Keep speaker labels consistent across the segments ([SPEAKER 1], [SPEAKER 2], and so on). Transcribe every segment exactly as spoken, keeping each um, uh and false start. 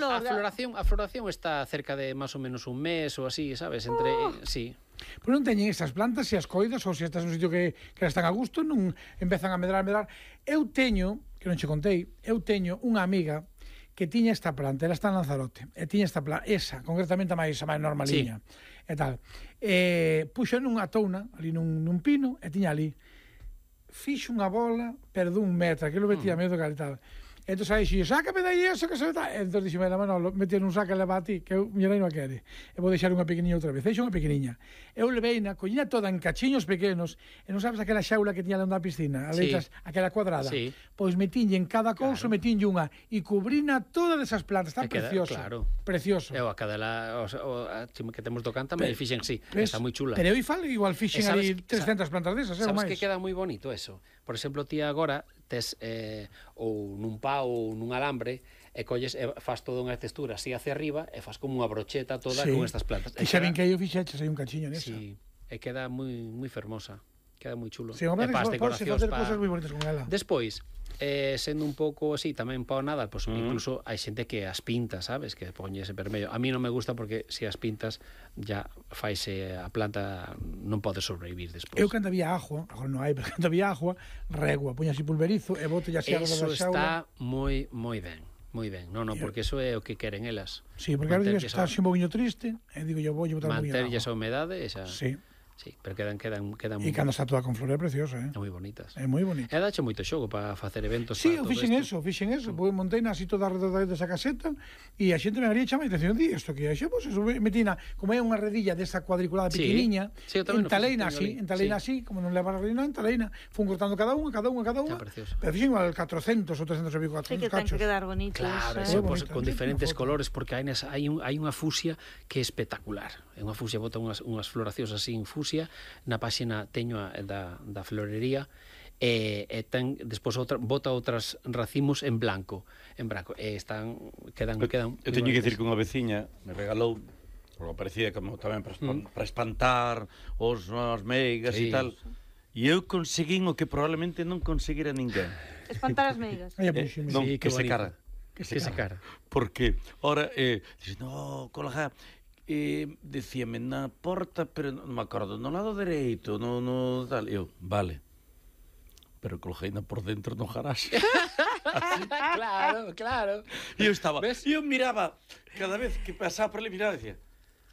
[SPEAKER 1] flor.
[SPEAKER 2] A floración, a floración está cerca de máis ou menos un mes ou así, sabes? Entre, oh. sí.
[SPEAKER 3] Pois non teñen estas plantas, se as coidas ou se estás nun sitio que, que están a gusto, non empezan a medrar, a medrar. Eu teño, que non che contei, eu teño unha amiga que tiña esta planta, ela está en Lanzarote, e tiña esta planta, esa, concretamente a máis, a máis normaliña, sí. e tal. E puxo nunha touna, ali nun, nun pino, e tiña ali, fixo unha bola, pero dun metro, aquilo metía mm. medo que tal. Entón aí dixo, sácame dai eso que se está. Entón dixo, mira, Manolo, mete nun saco e leva a ti, que eu, miña nai non a quere. E vou deixar unha pequeniña outra vez. Deixo unha pequeniña. Eu leveina, coñina toda en cachiños pequenos, e non sabes aquela xaula que tiña na piscina, a letras, sí. aquela cuadrada. Sí. Pois metinlle en cada couso, claro. metinlle unha, e cubrina todas esas plantas. Está queda, precioso. Claro. Precioso.
[SPEAKER 2] Eu a cada la, o, o, a que temos do canta, me fixen sí, pues, está moi chula.
[SPEAKER 3] Pero eu falo igual fixen ali trescentas plantas desas,
[SPEAKER 2] sabes que queda moi bonito eso. Por exemplo, ti agora tes eh, ou nun pau ou nun alambre e colles e faz toda unha textura así hacia arriba e faz como unha brocheta toda sí. con estas plantas.
[SPEAKER 3] E xa ben que eu fixeches aí un cachiño nesa.
[SPEAKER 2] Sí, e queda moi moi fermosa. Queda moi chulo.
[SPEAKER 3] Sí, e para as decoracións facer cosas moi bonitas con ela.
[SPEAKER 2] Despois, eh, sendo un pouco así, tamén pao nada, pues, mm. incluso hai xente que as pinta, sabes, que poñe ese vermello. A mí non me gusta porque se as pintas ya faise a planta non pode sobrevivir despois.
[SPEAKER 3] Eu cando había agua, agora non hai, pero cando había agua, regua, poña así pulverizo e bote así a roda da xaula.
[SPEAKER 2] Eso está moi moi ben. Moi ben, non, non, porque eso é o que queren elas.
[SPEAKER 3] Sí, porque agora está así un poquinho triste, e digo, eu vou botar un poquinho de agua.
[SPEAKER 2] Manter esa humedade, esa...
[SPEAKER 3] Sí.
[SPEAKER 2] Sí, pero quedan quedan quedan
[SPEAKER 3] E cando está toda con flor é preciosa, eh.
[SPEAKER 2] É moi bonitas.
[SPEAKER 3] É moi bonita.
[SPEAKER 2] E dache moito xogo para facer eventos
[SPEAKER 3] sí,
[SPEAKER 2] para todo.
[SPEAKER 3] Sí, fixen
[SPEAKER 2] esto.
[SPEAKER 3] eso, fixen eso, mm. pois montei así toda alrededor desa caseta e a xente me haría chamar a atención, di isto que é, pois eso, metina, como é unha redilla desa cuadriculada
[SPEAKER 2] sí.
[SPEAKER 3] pequeniña,
[SPEAKER 2] sí,
[SPEAKER 3] entaleina así, entaleina sí. así, como non leva a redilla, entaleina, fun cortando cada unha, cada unha, cada unha. Pero fixen igual catrocentos ou trescentos e pico,
[SPEAKER 1] catrocentos cachos. Sí, que ten que quedar bonito.
[SPEAKER 2] Claro,
[SPEAKER 1] eso,
[SPEAKER 2] eso, pues, con diferentes colores, porque hai, hai, un, hai unha fusia que é espectacular. É unha fusia, bota unhas, unhas floracións así en fusia, na páxina teño a, da, da florería e, e ten despois outra, bota outras racimos en blanco en branco e están quedan
[SPEAKER 4] eu,
[SPEAKER 2] quedan
[SPEAKER 4] eu teño que dicir que unha veciña me regalou porque parecía como tamén para, mm. para espantar os as meigas e sí. tal e eu conseguín o que probablemente non conseguira ninguén
[SPEAKER 1] espantar as meigas
[SPEAKER 4] eh, non,
[SPEAKER 2] sí,
[SPEAKER 4] que, que se cara
[SPEAKER 2] que se, que se cara
[SPEAKER 4] porque ora eh, dice, no, colega e decíame na porta, pero non me acordo, no lado dereito, no, no tal, eu, vale, pero colgeina por dentro no garaxe.
[SPEAKER 2] Claro, claro.
[SPEAKER 4] E eu estaba, e eu miraba, cada vez que pasaba por ali, miraba e decía,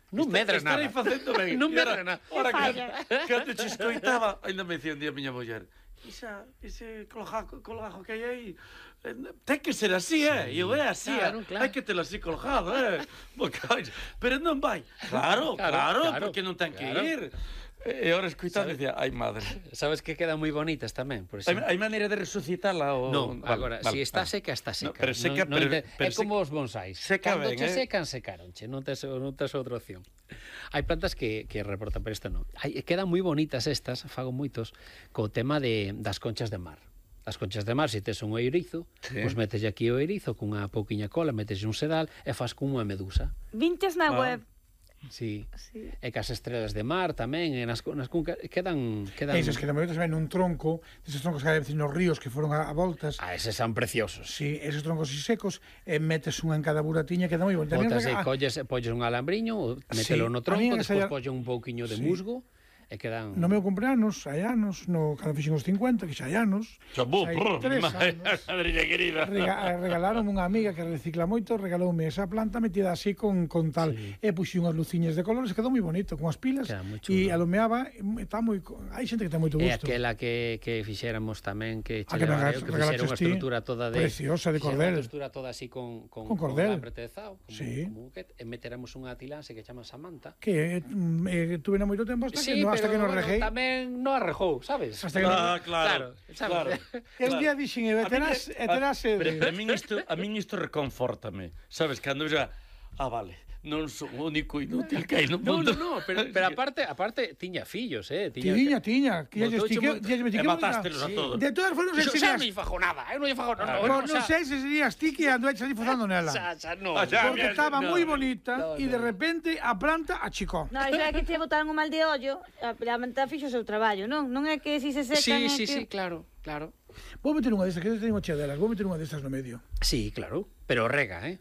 [SPEAKER 2] non medra nada.
[SPEAKER 4] Estarei facendo ben.
[SPEAKER 2] Non medra nada.
[SPEAKER 4] Ora, que, que te escoitaba, ainda me dicía un día a miña muller, Isa, ese colgajo, colgajo que hai aí, ten que ser así, eh? E eu é así, claro, claro. Hai que telo así colgado, eh? Pero non vai. Claro, claro, claro, claro porque non ten que claro. ir. E agora escoitando decía, ai madre.
[SPEAKER 2] Sabes que quedan moi bonitas tamén, por exemplo.
[SPEAKER 4] Hai maneira de resucitala ou
[SPEAKER 2] non, agora, vale, si está vale. seca, está seca.
[SPEAKER 4] No, pero seca,
[SPEAKER 2] no,
[SPEAKER 4] pero,
[SPEAKER 2] no,
[SPEAKER 4] pero
[SPEAKER 2] é como os bonsais.
[SPEAKER 4] Seca
[SPEAKER 2] Cando
[SPEAKER 4] ben,
[SPEAKER 2] che
[SPEAKER 4] eh?
[SPEAKER 2] secan, secaronche, non tes non tes outra opción. Hai plantas que que reportan, pero esta non. Hai quedan moi bonitas estas, fago moitos co tema de das conchas de mar. As conchas de mar, se tes un eirizo, sí. pois metes aquí o eirizo cunha pouquiña cola, metes un sedal e faz como unha medusa.
[SPEAKER 1] Vintes na ah. web.
[SPEAKER 2] Sí. sí. E cas estrelas de mar tamén, e nas, nas cuncas quedan quedan
[SPEAKER 3] esos que tamén ven un tronco, esos troncos que hai nos ríos que foron a, a voltas.
[SPEAKER 2] Ah, eses son preciosos.
[SPEAKER 3] Sí, esos troncos así secos, e metes unha en cada buratiña, queda moi bonito.
[SPEAKER 2] Botas e colles, polles un alambriño, mételo sí. no tronco, despois polles un pouquiño de sí. musgo. E quedan...
[SPEAKER 3] No meu cumpleanos, hai anos, no, cando fixen os cincuenta, que xa hai anos,
[SPEAKER 4] xa hai
[SPEAKER 3] tres anos,
[SPEAKER 4] madriña querida,
[SPEAKER 3] rega, regalaron unha amiga que recicla moito, regaloume esa planta metida así con, con tal, sí. e puxi unhas luciñas de colores, quedou moi bonito, con as pilas, e alumeaba, está moi, hai xente que ten moito gusto.
[SPEAKER 2] E aquela que, que fixéramos tamén, que, che leva, que fixera unha estrutura toda de...
[SPEAKER 3] Preciosa, de cordel.
[SPEAKER 2] Unha estrutura toda así con, con,
[SPEAKER 3] con cordel.
[SPEAKER 2] Con apretezado, como,
[SPEAKER 3] sí.
[SPEAKER 2] como que, e meteramos unha tilanse que chama Samantha.
[SPEAKER 3] Que eh, tuve na moito tempo hasta
[SPEAKER 2] sí,
[SPEAKER 3] que no, hasta que nos
[SPEAKER 2] bueno,
[SPEAKER 3] rejei.
[SPEAKER 2] Tamén non arrejou, sabes?
[SPEAKER 3] Hasta que
[SPEAKER 4] ah,
[SPEAKER 3] no...
[SPEAKER 4] claro, claro.
[SPEAKER 3] E un día dixen, e terás, e terás...
[SPEAKER 4] Pero a min isto, a min isto reconfortame, sabes, cando xa, ah, vale, non son o único inútil que hai no mundo.
[SPEAKER 2] No, no, no, pero, pero aparte, aparte tiña fillos, eh,
[SPEAKER 3] tiña. Tiña, tiña, que ya estique, ya
[SPEAKER 4] e matástelos a todos.
[SPEAKER 3] De todas formas, non
[SPEAKER 2] sei se non fajo nada, eu non fajo nada.
[SPEAKER 3] Non sei se serías ti que andueches ali fozando nela. Porque estaba moi bonita e de repente a planta achicó.
[SPEAKER 1] Non, iso é que te botaron un mal de ollo, a planta fixo o seu traballo, non? Non é que si se secan...
[SPEAKER 2] Sí, sí, sí, claro, claro.
[SPEAKER 3] Vou meter unha destas, que eu teño chea delas, vou meter unha destas no medio.
[SPEAKER 2] Sí, claro, pero rega, eh?